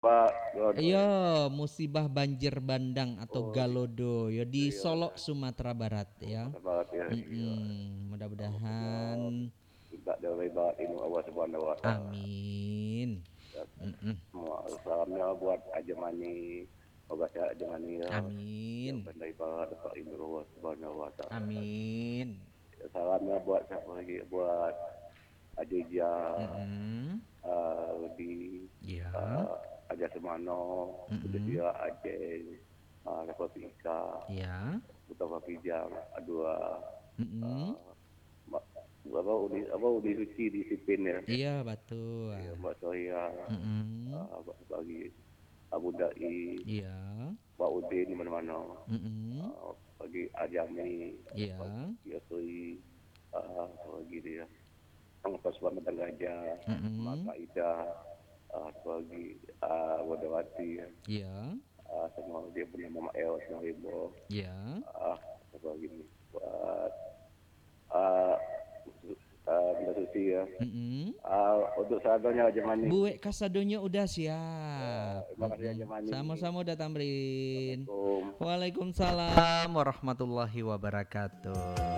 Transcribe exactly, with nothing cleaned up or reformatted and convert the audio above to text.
Pak, Galodo. Iyo, musibah banjir bandang atau Oh, Galodo, yo, di iyo, Solok, Sumatera Barat, ya. Sumatera Barat, ya, iyo. Mm-mm. Mudah-mudahan Minta dari barat ilmu Allah Subhanahu wa Taala. Amin. Ya. Mm-mm. Semua salamnya buat Haji Mani. Semoga sehat Haji Mani, ya. Amin. Yang pandai barat dapat ilmu Allah Subhanahu wa Taala. Amin. Salamnya buat siapa lagi? Buat Haji Ijah, Mm-mm. ah, Rudi, Ya. ah, Haji Semano, Mm-mm. Betul juga Aceh, ah, Rafa Fika, Ya. Mustafa Kijang, Adua, Mm-mm. ah, Mbak, apa, Uni, apa, Uni Suci di Sipin, ya? Iya, betul. Iya, Mbak Sohia, Mm-mm. ah, Mbak Bagi, Abu Dai, Iya. Mbak Udin di mana-mana. Mm-mm. Ah, bagi Ajami, Iya. bagi Asri, ah, bagi dia. Yang pas Padang Gajah, Mm-mm. Mak Ida, ah, bagi, ah, Wadawati, ya. Iya. Ah, sama dia bernama Mak El, sama Ibo. Iya. Ah, bagi ni. Buat, ah, ah, Bunda Susi, ya. Mm-mm. Ah, untuk sadonyo Haji Mani. Buek kasadonyo udah siap. Ya, terima kasih, Haji Mm-mm. Mani. Samo-samo, Uda Tamrin. Assalamualaikum. Waalaikumsalam warahmatullahi wabarakatuh.